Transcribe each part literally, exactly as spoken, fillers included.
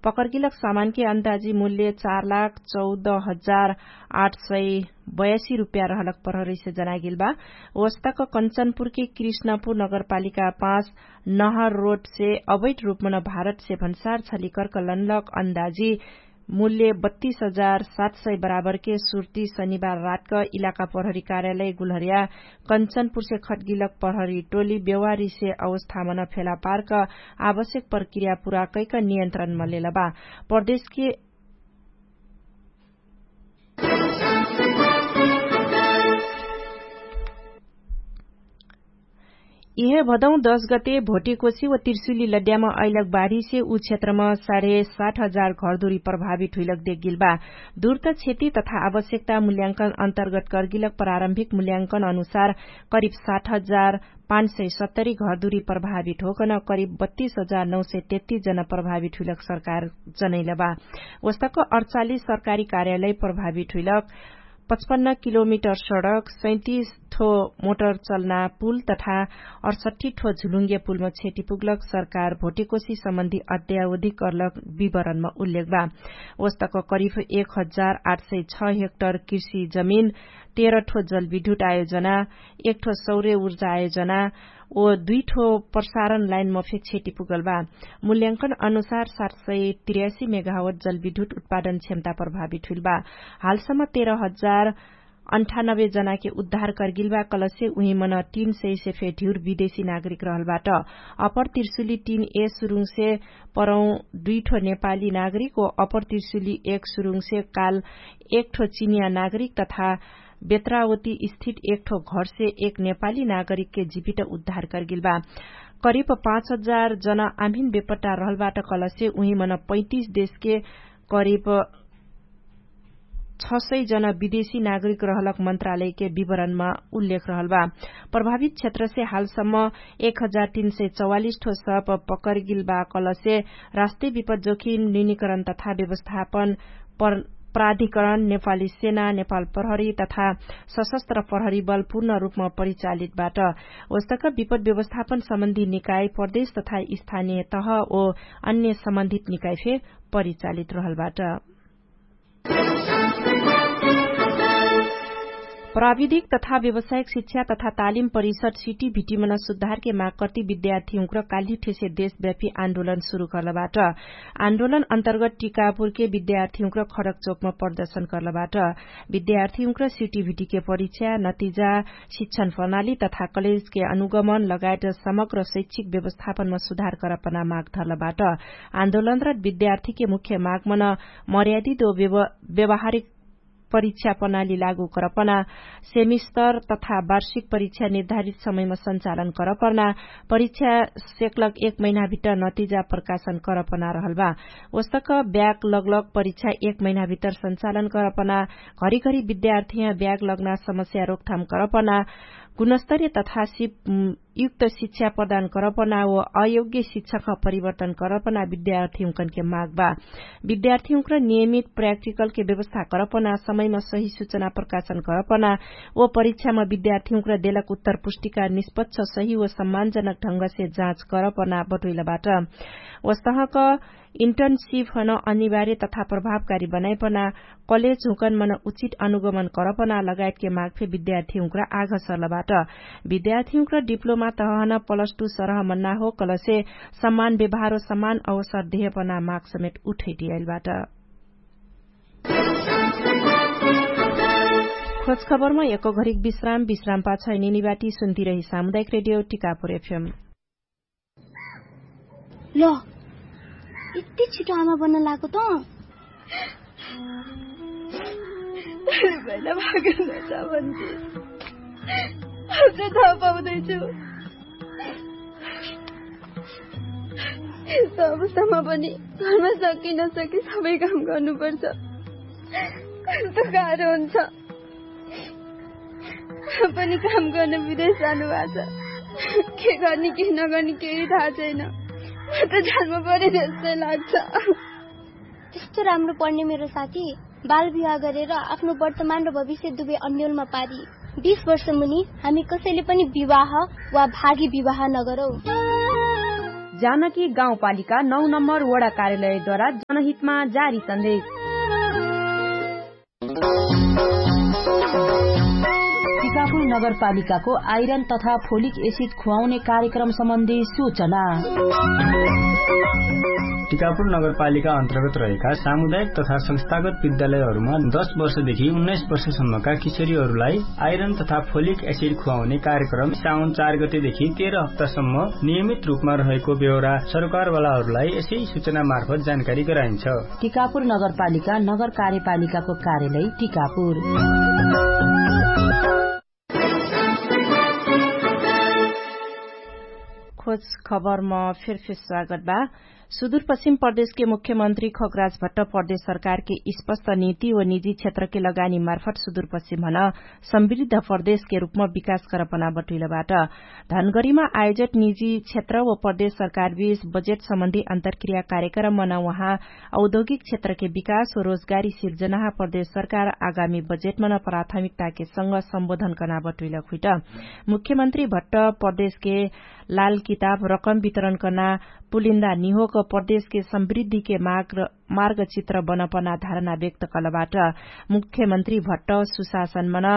पकरगिलक सामानके अन्दाजी मूल्य चार लाख चौध हजार आठ सय बयासी रुपैया रहलक प्रहरीसे जनागेल बा। ओस्तक कञ्चनपुरके कृष्णपुर नगरपालिका पाँच नहर रोडसे अवैध रूपमन भारतसे भन्सार छलिकरक लनलक अन्दाजी मूल्य बत्तीस हजार सात सय बराबरके सुर्ती शनिबार रातक इलाका प्रहरी कार्यालय गुल्हर्या कञ्चनपुरसे खटगिलक प्रहरी टोली बेवारीसे अवस्थामन फेला पार्क आवश्यक प्रक्रिया पुरा कैक नियन्त्रणम लेलबा। प्रदेशके इहे भदौं दश गते भोटेकोसी व तिर्सुली लड्याम अइलक बाढीसे उ क्षेत्रम साढे साठ हजार घरदुरी प्रभावित हुइलक देगिल बा। दुर्त क्षति तथा आवश्यकता मूल्यांकन अन्तर्गत कर्गिलक प्रारम्भिक मूल्यांकन अनुसार करिब साठ हजार पाँच सय सत्तरी घरदुरी प्रभावित होकन करिब बत्तीस हजार नौ सय तेत्तीस जना प्रभावित हुइलक सरकार जनैल बा। ओस्तक अडचालिस सरकारी कार्यालय प्रभावित हुइलक पचपन्न किलोमिटर सडक सैतिस ठो मोटर चलना पुल तथा अडसट्ठी ठो झुलुङ्गे पुलमा क्षति पुग्लक सरकार भोटेकोसी सम्बन्धी अध्यावधिक कर्लक विवरणमा उल्लेख बा। ओस्तक करिब एक हजार आठ सय छ हेक्टर कृषि जमिन तेह्र ठो जलविद्युत आयोजना एक ठो सौर्य ऊर्जा आयोजना ओ दुई ठो प्रसारण लाइनम फेक क्षति पुगल बा। मूल्यांकन अनुसार सात सय त्रियासी मेगावट जलविद्युत उत्पादन क्षमता प्रभावित हुइल बा। हालसम्म तेह्र हजार अन्ठानब्बे जनाके उद्धार कर्गिल बा कलसे उहिमन तीन सय से फे ढिउर विदेशी नागरिक रहल बाट। अपर तिर्सुली तीन ए सुरुङसे परौं दुई ठो नेपाली नागरिक ओ अपर तिर्सुली एक सुरुङसे काल एक ठो चिनिया नागरिक तथा बेत्रावती स्थित एक ठो घरसे एक नेपाली नागरिकके जिवित उद्धार कर्गिल बा। करिब पाँच हजार जना आम्हिन बेपट्टा रहल बाट कलसे उहिमन पैतिस देशके करिब छ सय जना विदेशी नागरिक रहलक मन्त्रालयके विवरणमा उल्लेख रहल बा। प्रभावित क्षेत्रसे हालसम्म एक हजार तीन सय चौवालिस ठो सप पकरगिल बा कलसे राष्ट्रिय विपद जोखिम न्यूनिकरण तथा व्यवस्थापन प्राधिकरण नेपाली सेना नेपाल प्रहरी तथा सशस्त्र प्रहरी बल पूर्ण रूपमा परिचालित बाट। ओस्तक विपद व्यवस्थापन सम्बन्धी निकाय प्रदेश तथा स्थानीय तह ओ अन्य सम्बन्धित निकाय फे परिचालित रहल बाट। प्राविधिक तथा व्यवसायिक शिक्षा तथा तालिम परिषद सिटी भिटिमन सुधारके माग कर्ति विद्यार्थीहुँक्र काल्हिठेसे देशव्यापी आन्दोलन सुरु कर्लबाट। आन्दोलन अन्तर्गत टिकापुरके विद्यार्थीहुँक्र खडक चोकमा प्रदर्शन कर्लबाट। विद्यार्थीहुँक्र सिटी भिटिके परिक्षा नतिजा शिक्षण प्रणाली तथा कलेजके अनुगमन लगायत समग्र शैक्षिक व्यवस्थापनमा सुधार करपना माग धर्लबाट। आन्दोलनरत विद्यार्थीके मुख्य मागमन मर्यादित ओ व्यवहारिक परिक्षा प्रणाली लागू करपना सेमिस्तर तथा वार्षिक परिक्षा निर्धारित समयमा सञ्चालन करपना परिक्षा सेक्लक एक महिनाभित्र नतिजा प्रकाशन करपना रहलबा। ओस्तक ब्याक लगलक परिक्षा एक महिनाभित्र सञ्चालन करपना घरिघरि विद्यार्थीहाँ ब्याक लगना समस्या रोकथाम करपना गुणस्तरीय तथा सिप युक्त शिक्षा प्रदान करपना व अयोग्य शिक्षक परिवर्तन करपना विद्यार्थीहुँकनके माग बा। विद्यार्थीहुँक्र नियमित प्राक्टिकलके व्यवस्था करपना समयमा सही सुचना प्रकाशन करपना व परिक्षामा विद्यार्थीहुँक्र देलक उत्तर पुष्टिका निष्पच्छ सही व सम्मानजनक ढङ्गसे जाँच करपना बटोइलबाट। वस्तहक इन्टर्नसिप हन अनिवार्य तथा प्रभावकारी बनाइपना कलेज हुँकन मन उचित अनुगमन करपना लगायतके माग फे विद्यार्थीहुँक्र आघ सर्लबाट। विद्यार्थीहुँक्र डिप्लोमा तहन प्लस टु सरह मन्ना हो कलसे सम्मान व्यवहारो सम्मान अवसर देहपना माग समेत उठैटियाइलबाट। खोजखबरमा एक घरिक विश्राम विश्राम पाछ निनिबाटी सुन्तिरही सामुदायिक रेडियो टिकापुर एफएम। ल यति छिटो आमा बन्न लागेको त? पहिला भागेर नजा भन्थे। अब चाहिँ थाहा पाउँदैछु। यस्तो अवस्थामा पनि घरमा सकि नसकि सबै काम गर्नुपर्छ। कस्तो गाह्रो हुन्छ। पनि काम गर्न विदेश जानुभएको छ। के गर्ने के नगर्ने केही थाहा छैन। म त जान्नु पर्यो जस्तै लाग्छ। त्यस्तो राम्रो पढ्ने मेरो साथी बाल विवाह गरेर आफ्नो वर्तमान र भविष्य दुवै अन्यलमा पारी। बिस वर्ष मुनि हामी कसैले पनि विवाह वा भागी विवाह नगरौँ। जानकी गाउँपालिका नौ नम्बर वडा कार्यालयद्वारा जनहितमा जारी सन्देश। टिकापुर नगरपालिकाको आइरन तथा फोलिक एसिड खुवाउने कार्यक्रम सम्बन्धी सूचना। टिकापुर नगरपालिका अन्तर्गत रहेका सामुदायिक तथा संस्थागत विद्यालयहरूमा दस वर्षदेखि उन्नाइस वर्षसम्मका किशोरीहरूलाई आइरन तथा फोलिक एसिड खुवाउने कार्यक्रम साउन चार गतेदेखि तेह्र हप्तासम्म नियमित रूपमा रहेको बेहोरा सरकारवालाहरूलाई यसै सूचना मार्फत जानकारी गराइन्छ। टिकापुर नगरपालिका नगर कार्यपालिकाको कार्यालय टिकापुर। खोज खबरमा फेरफेर स्वागत बा। सुदूरपश्चिम प्रदेशके मुख्यमन्त्री खगराज भट्ट प्रदेश सरकारके स्पष्ट नीति व निजी क्षेत्रके लगानी मार्फत सुदूरपश्चिम हन समृद्ध प्रदेशके रूपमा विकास करपना बटुइलबाट। धनगरीमा आयोजित निजी क्षेत्र व प्रदेश सरकारबीच बजेट सम्बन्धी अन्तरक्रिया कार्यक्रम मन उहाँ औद्योगिक क्षेत्रके विकास व रोजगारी सिर्जनाहा प्रदेश सरकार आगामी बजेट मन प्राथमिकताके संग सम्बोधन कना बटुइलक हुइट। मुख्यमन्त्री भट्ट प्रदेशके लाल किताब रकम वितरण कना पुलिन्दा निहोक प्रदेशके समृद्धिके मार्ग चित्र बनपना धारणा व्यक्त कलबाट। मुख्यमन्त्री भट्ट सुशासन मन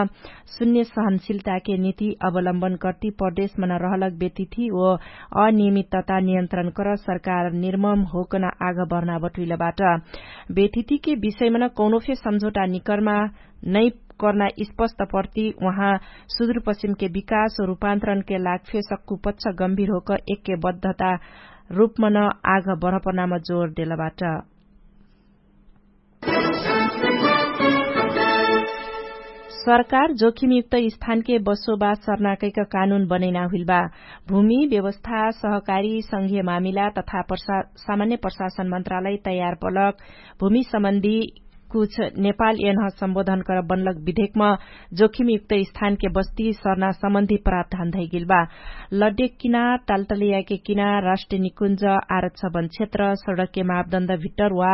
शून्य सहनशीलताके नीति अवलम्बन कर्ति प्रदेश मन रहलक बेतिथि ओ अनियमितता नियन्त्रण कर सरकार निर्मम होकन आग बढ्ना बटुइलबाट। बेतिथिके विषयमन कौनोफे सम्झौटा निकर्मा नै कर्ना स्पष्ट प्रति उहाँ सुदूरपश्चिमके विकास रूपान्तरणके लाग फे सक्कु पच्छ गम्भीर होक एक्के बद्धता रूपमन आग बढपनाम जोर देलबाट। सरकार जोखिमयुक्त स्थानके बसोबास सर्नाकैक कानुन बनैना हुइलबा। भूमि व्यवस्था सहकारी संघीय मामिला तथा सामान्य प्रशासन मन्त्रालय तयार बलक भूमि सम्बन्धी कुछ नेपाल एन्ह सम्बोधन कर बनलक विधेकम जोखिमयुक्त स्थानके बस्ती सर्ना सम्बन्धी प्रावधान धैगेलबा। लड्डेक किना तालतलियाके किना राष्ट्रिय निकुञ्ज आरक्षबन क्षेत्र सडकके मापदण्ड भित्तर वा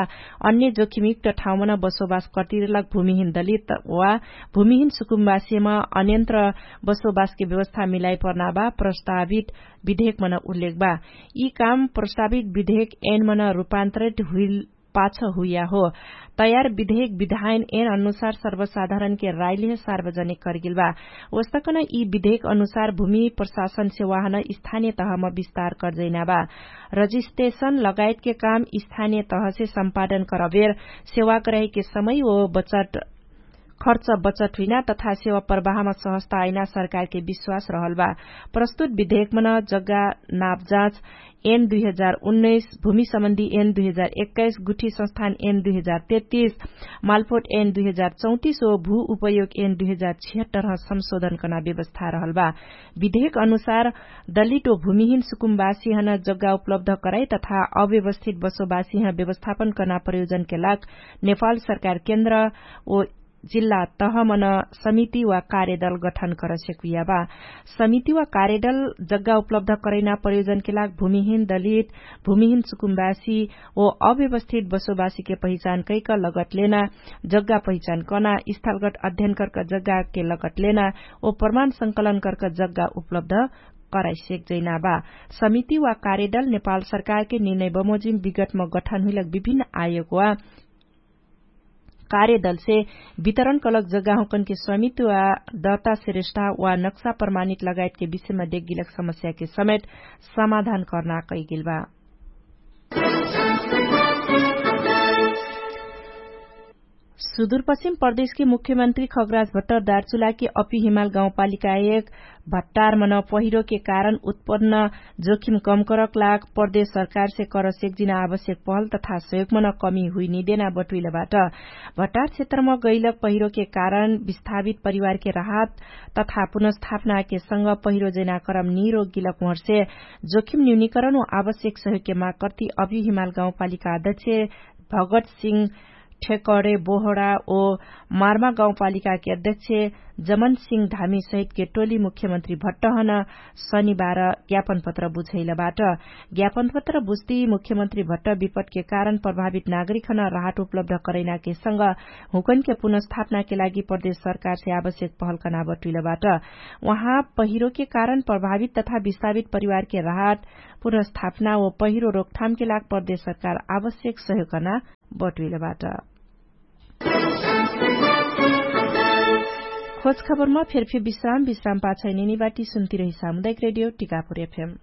अन्य जोखिमयुक्त ठाउँमन बसोबास कर्तिरलक भूमिहिन दलित वा भूमिहिन सुकुम्बासीम अन्यन्त्र बसोबासके व्यवस्था मिलाइ पर्नाबा प्रस्तावित विधेकमन उल्लेखबा। यि काम प्रस्तावित विधेक एनमन रूपान्तरित हुइल पाछ हुइया हो। तयार विधेक विधायन एन अनुसार सर्वसाधारणके राइलिह सार्वजनिक कर्गेलबा। वस्तकन यि विधेक अनुसार भूमि प्रशासन सेवाहन स्थानिय तहम विस्तार कर्जैनाबा। रजिस्ट्रेशन लगायतके काम स्थानिय तहसे सम्पादन करबेर सेवाक रहेके समय ओ बचट खर्च बचट हुइना तथा सेवा प्रवाहमा सहस्ता आइना सरकारके विश्वास रहलबा। प्रस्तुत विधेकमन जग्गा नापजाँच एन दुई हजार उन्नैस भूमि सम्बन्धी एन दुई हजार एक्काइस गुठी संस्थान एन दुई हजार तेत्तिस मालपोट एन दुई हजार चौतिस ओ भू उपयोग एन दुई हजार छिहत्तर संशोधन कर्ना व्यवस्था रहलबा। विधेक अनुसार दलित ओ भूमिहिन सुकुम्बासीहन जग्गा उपलब्ध कराइ तथा अव्यवस्थित बसोबासीह व्यवस्थापन कर्ना प्रयोजनके लाग नेपाल सरकार केन्द्र ओ जिल्ला तहमन समिति वा कार्यदल गठन करसेकुइयाबा। समिति वा कार्यदल जग्गा उपलब्ध करैना प्रयोजनके लाग भूमिहिन दलित भूमिहिन सुकुम्बासी ओ अव्यवस्थित बसोबासीके पहिचान कैक लगटलेना जग्गा पहिचान कना स्थलगट अध्ययन कर्क जग्गाके लगटलेना ओ प्रमाण संकलन कर्क जग्गा उपलब्ध कराइसेक जैनाबा। समिति वा कार्यदल नेपाल सरकारके निर्णय बमोजिम विगटम गठन हुइलक विभिन्न आयोग वा कार्यदलसे वितरण कलक जग्गाहुँकनके स्वामित्व वा दर्ता श्रेष्ठा वा नक्सा प्रमाणित लगायतके विषयमा देख्गिलक समस्याके समेत समाधान कर्ना कैगेलबा। सुदूरपश्चिम प्रदेशके मुख्यमन्त्री खगराज भट्ट दार्चुलाके अपिहिमाल गाउँपालिका एक भट्टारमन पहिरोके कारण उत्पन्न जोखिम कमकरक लाग प्रदेश सरकारसे करसेक जिना आवश्यक पहल तथा सहयोगमन कमी हुइनिदेना बटुइलबाट। भट्टार क्षेत्रम गैलक पहिरोके कारण विस्थापित परिवारके राहत तथा पुनर्स्थापनाके संग पहिरो जैना करम निरोगिलक उहर्से जोखिम न्यूनिकरण व आवश्यक सहयोगके माग कर्ति अपिहिमाल गाउँपालिका अध्यक्ष भगत सिंह ठेकरे बोहरा ओ मार्मा गाउँपालिकाके अध्यक्ष जमन सिंह धामी सहितके टोली मुख्यमन्त्री भट्टहन शनिबार ज्ञापनपत्र बुझैलबाट। ज्ञापनपत्र बुझ्ती मुख्यमन्त्री भट्ट विपटके कारण प्रभावित नागरिकहन राहत उपलब्ध करैनाके संग हुँकनके पुनर्स्थापनाके लागि प्रदेश सरकारसे आवश्यक पहलकना बटुइलबाट। उहाँ पहिरोके कारण प्रभावित तथा विस्थापित परिवारके राहत पुनर्स्थापना व पहिरो रोकथामके लाग प्रदेश सरकार आवश्यक सहयोग कर्ना बटुइलबाट। खोजखबरमा फेरफे विश्राम विश्राम पाछै निनिबाटी सुन्तिरही सामुदायिक रेडियो टिकापुर एफएम।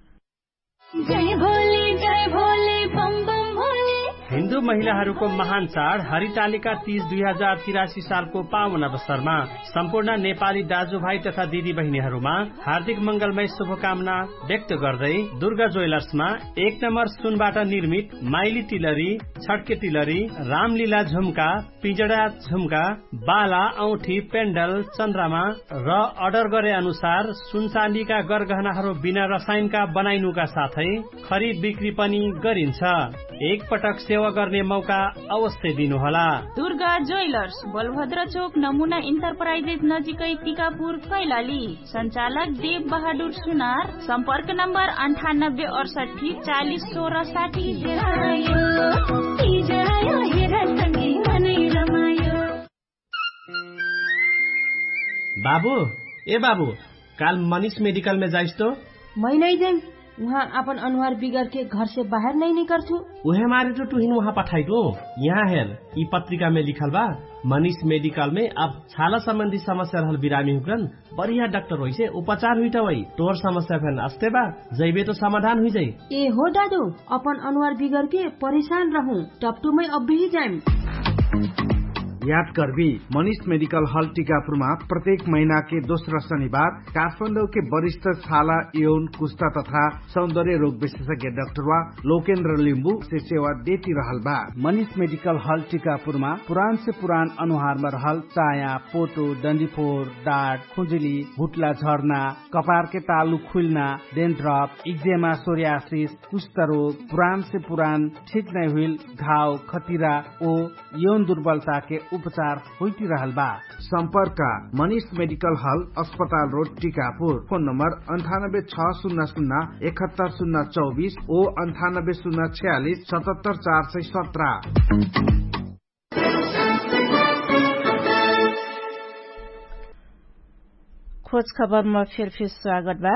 जय भोले जय भोले बम बम भोले। हिन्दू महिलाहरूको महान चाड हरितालिका तीज दुई हजार तिरासी सालको पावन अवसरमा सम्पूर्ण नेपाली दाजुभाइ तथा दिदीबहिनीहरूमा हार्दिक मंगलमय शुभकामना व्यक्त गर्दै दुर्गा ज्वेलर्समा एक नम्बर सुनबाट निर्मित माइली तिलरी, छड्के तिलरी, रामलीला झुम्का, पिजडा झुम्का, बाला औठी पेन्डल चन्द्रमा र अर्डर गरे अनुसार सुनचाँदीका गरगहनाहरू बिना रसायनका बनाइनुका साथै खरिद बिक्री पनि गरिन्छ। एकपटक सेवा गर्ने मौका अवश्य दिनुहोला। दुर्गा ज्वेलर्स, बलभद्र चोक, नमुना इन्टरप्राइजेस नजिकै, टिकापुर, कैलाली। सञ्चालक देव बहादुर सुनार। सम्पर्क नम्बर अन्ठानब्बे अडसट्ठी चालिस सोह्र साठी। बाबु, ए बाबु, काल मनिष मेडिकलमे जाइस तो? मै नै जाइम। उहाँ आपन अनुहार बिगरके घरसे बाहेर नै निकर्छु। उहे मारे तो टुहिन उहाँ पठाइटु। यहाँ हेर, यि पत्रिकामे लिखल बा, मनिष मेडिकलमे अब छाला सम्बन्धी समस्या रहल बिरामी हुकरन बढिया डाक्टर होइसे उपचार हुइटवै। तोर समस्या फेन अस्ते बा, जैबे तो समाधान हुइजै। ए हो दादु, अपन अनुहार बिगरके परेशान रहु, टपटुमै अब्बेही जाइम। याद करबी, मनिष मेडिकल हल टिकापुरमा प्रत्येक महिनाके दोस्रा शनिबार काठमाडौके वरिष्ठ छाला, यौन, कुस्ता तथा सौन्दर्य रोग विशेषज्ञ डाक्टरवा लोकेन्द्र लिम्बु से सेवा देती रहल बा। मनिष मेडिकल हल टिकापुरमा पुरान से पुरान अनुहारमा रहल चाया, पोटो, डन्डीफोर, डाट, खुजुली, भुट्ला झर्ना, कपारके तालु खुइल्ना, डेन्ड्रप, इक्जेमा, सोर्यासिस, कुष्ठरोग, पुरान से पुरान ठिक नै हुइल घाव, खतिरा ओ यौन दुर्बलताके उपचार होइटिरहल बा। सम्पर्क मनिष मेडिकल हल, अस्पताल रोड, टिकापुर। फोन नम्बर अन्ठानब्बे छ सुन्ना सुन्ना एकहत्तर सुन्ना चौबिस ओ अन्ठानब्बे सुन्ना छयालिस सतहत्तर चार सय सत्र। खोज खबरमा फेरफेर स्वागत बा।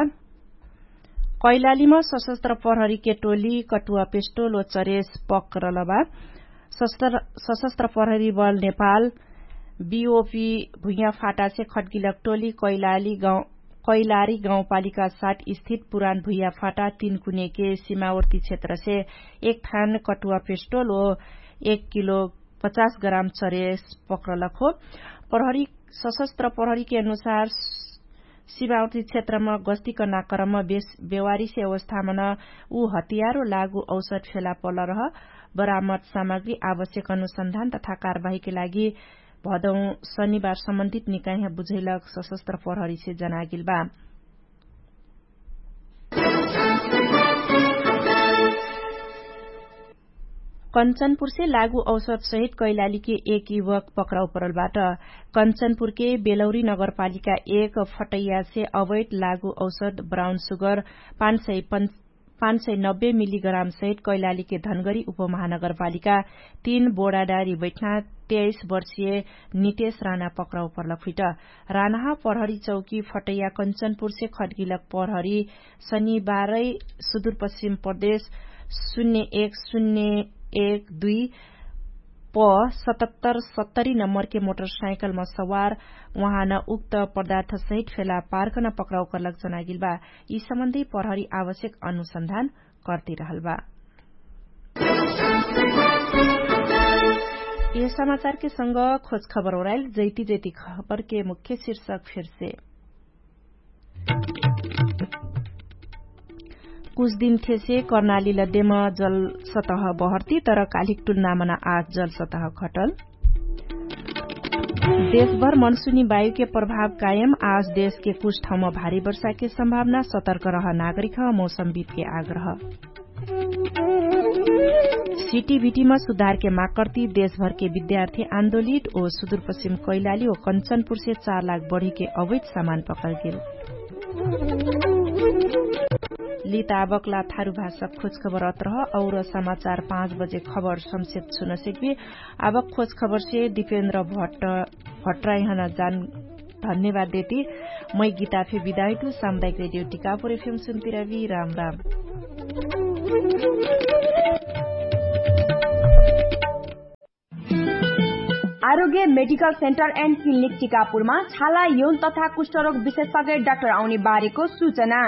कैलालीमा सशस्त्र प्रहरीके टोली कटुवा पेस्टोल ओ चरेस पक्रल बा। सशस्त्र प्रहरी बल नेपाल बिओपी भुइया फाटासे खटगिलक टोली कैलाली गाउँ कैलारी गाउँपालिका सात स्थित पुरान भुइया फाटा तीन कुनेके सिमावर्ती क्षेत्रसे एक थान कटुवा पेस्टोल ओ एक किलो पचास ग्राम चरेस पक्रलक हो। प्रहरी सशस्त्र प्रहरीके अनुसार सिमावर्ती क्षेत्रमा गस्ती कर्ना क्रममा बेवारीसे अवस्थामा न उ हतियारो लागु औसत फेला पलरह बरामद सामग्री आवश्यक अनुसन्धान तथा कारवाहीके लागि भदौं शनिबार सम्बन्धित निकाइह बुझैलक सशस्त्र प्रहरीसे जनागिल बा। कन्चनपुरसे लागु औसत सहित कैलालीके एक युवक पक्राउ परलबाट। कन्चनपुरके बेलौरी नगरपालिका एक फटैयासे अवैत लागु औसत ब्राउन सुगर पाँच सय पाँच सय नब्बे मिलिग्राम सहित कैलालीके धनगरी उपमहानगरपालिका तीन बोडाडारी बैठना तेइस वर्षिय नितेश राना पक्राउ परलक हुइट। रानाह प्रहरी चौकी फटैया कन्चनपुरसे खटगिलक प्रहरी शनिबारै सुदूरपश्चिम प्रदेश शून्य एक शून्य एक दुई प सतहत्तर सत्तरी नम्बरके मोटरसाइकलमा सवार उहाँ न उक्त पदार्थ सहित फेला पार्कन पक्राउ कर्लक जनागिल बा। यि सम्बन्धी प्रहरी आवश्यक अनुसन्धान कर्तिरहल बा। यह समाचारके संग खोज खबर ओराइल जैती जैती खबरके मुख्य शीर्षक फिरसे। कुछ दिन थेसे कर्नाली लद्देम जल सतह बहर्ती तर कालिक टुल्नामना आज जल सतह खटल। देशभर मनसुनी बायुके प्रभाव कायम आज देशके कुछ ठाउँमा भारी वर्षाके सम्भावना सतर्क रह नागरिक ह मौसमविदके आग्रह। सिटिभिटिमा सुधारके माकर्ती देशभरके विद्यार्थी आन्दोलित ओ सुदुरपश्चिम कैलाली ओ कन्चनपुरसे चार लाख बढीके अवैत सामान पकर्गेल। लिताबकला थारु भाषा खोजखबर अत्रह और समाचार पाँच बजे खबर संक्षेप सुनसेकबी। आबक खोजखबरसे दिपेन्द्र भट्ट भट्टराइहन जान धन्यवाद देती। मै गीताफे बिदाइटु सामुदायिक रेडियो टिकापुर एफएम सुन्तिरबी राम राम। आरोग्य मेडिकल सेन्टर एन्ड क्लिनिक टिकापुरमा छाला यौन तथा कुष्ठरोग विशेषज्ञ डाक्टर आउने बारेको सूचना।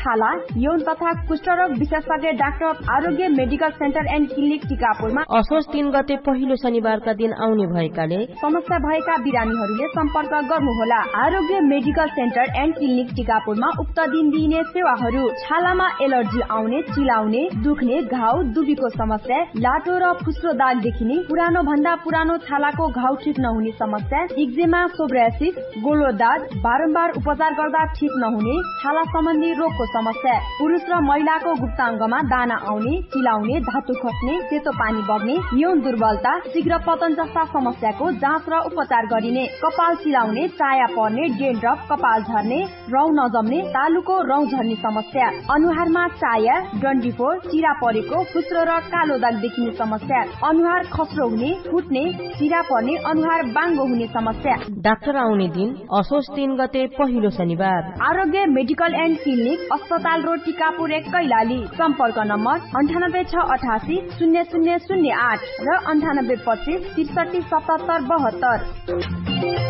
छाला यौन तथा कुष्ठरोग विशेषज्ञ डाक्टर आरोग्य मेडिकल सेन्टर एन्ड क्लिनिक टिकापुरमा असोज तीन गते पहिलो शनिबारका दिन आउने भएकाले समस्या भएका बिरामीहरूले सम्पर्क गर्नुहोला। आरोग्य मेडिकल सेन्टर एन्ड क्लिनिक टिकापुरमा उक्त दिन दिइने सेवाहरू छालामा एलर्जी आउने, चिलाउने, दुख्ने, घाउ दुबीको समस्या, लाटो र फुस्रो दाग देखिने, पुरानो भन्दा पुरानो छालाको घाउ ठिक नहुने समस्या, इक्जेमा, सोब्रासिस, गोलो दाग, बारम्बार उपचार गर्दा ठिक नहुने छाला सम्बन्धी रोगको समस्या, पुरुष र महिलाको गुप्ताङ्गमा दाना आउने, चिलाउने, धातु खस्ने, सेतो पानी बग्ने, यौन दुर्बलता, शीघ्र पतन जस्ता समस्याको जाँच र उपचार गरिने, कपाल चिलाउने, चाया पर्ने, डेन्ड्रफ, कपाल झर्ने, रौँ नजम्ने, तालुको रौँ झर्ने समस्या, अनुहारमा चाया, डन्डीफोर, चिरा परेको, फुस्रो र कालो दाग देखिने समस्या, अनुहार खस्रो हुने, फुट्ने, चिरा पर्ने, अनुहार बाङ्गो हुने समस्या। डाक्टर आउने दिन असोज तीन गते पहिलो शनिबार। आरोग्य मेडिकल एन्ड क्लिनिक, अस्पताल रोड, टिकापुर एक, कैलाली। सम्पर्क नम्बर अन्ठानब्बे छ अठासी शून्य शून्य शून्य आठ र अन्ठानब्बे पच्चिस त्रिसठी सतहत्तर बहत्तर।